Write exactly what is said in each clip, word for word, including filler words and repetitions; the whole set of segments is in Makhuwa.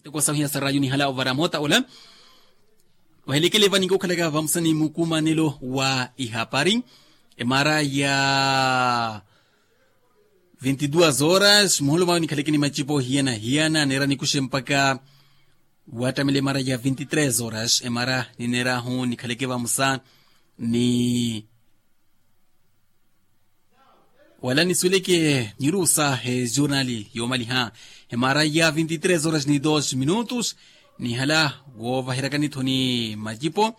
Miteko sahu hiya sa raatiyo nihala ovara moota ola. Vahelekele vaninka okhalaka vamusa ni mukumanelo wa ihapari, emara ya vinti duas horas muholo mawe nikhaleke ni macipo hiyana hiyana neera nikuxe mpaka wattamela emara ya vinti tres horas emara nineerahu nikhaleke vamusa ni wala nisuweleke nirusa he jurnali yoomaliha emara ya vinti tres horas ni dos minutos. Nihala woovaheryakani-tho ni macipo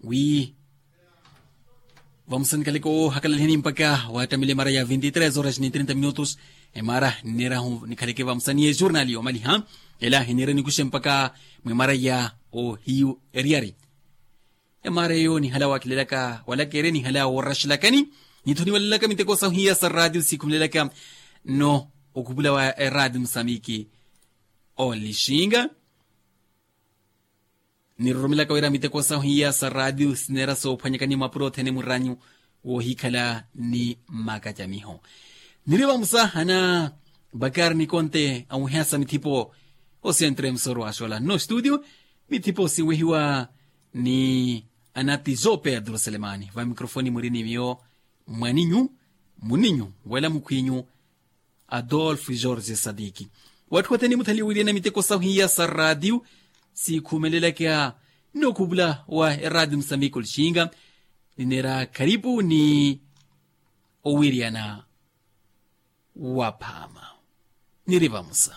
wi vamusa nikhaleke woohakalalihani mpaka wattamela emara ya vinti tres horas ni trinta minutos. Emara nineerahu nikhaleke vamusa ni ejurnali yoomaliha ela hiniire nikuxe mpaka mwemara ya ohiyu eriyari. Emara eyo nihala wakhilelaka wala keere nihala wooraxelakani ni-tho niwalelaka miteko sahu hiya sa raatiyo sikhumelelaka nno okhupula wa eraatiyo musambiki olixinga. Niroromelaka wira miteko sahu hiya sa raatiyo sineera soophwanyakani mapuro othene muranyu woohikhala ni makacamiho. Niri vamusa ana bakari nikonte amuhiyasa mithipo osentre musoro axola nno studio. Mithipo sinwehiwa ni anati joe pedro selemani va mikrofoni muri ni miyo mwaninyu muninyu wala mukhwinyu adolfo jorge sadiki. Watthu wathene muthaliwiriyana miteko sahu hiya sa raatiyo sikhumelelaka nno okhupula wa eraatiyo musambiki olixinga nineera kharipu ni owiriyana waphaama. Niri vamusa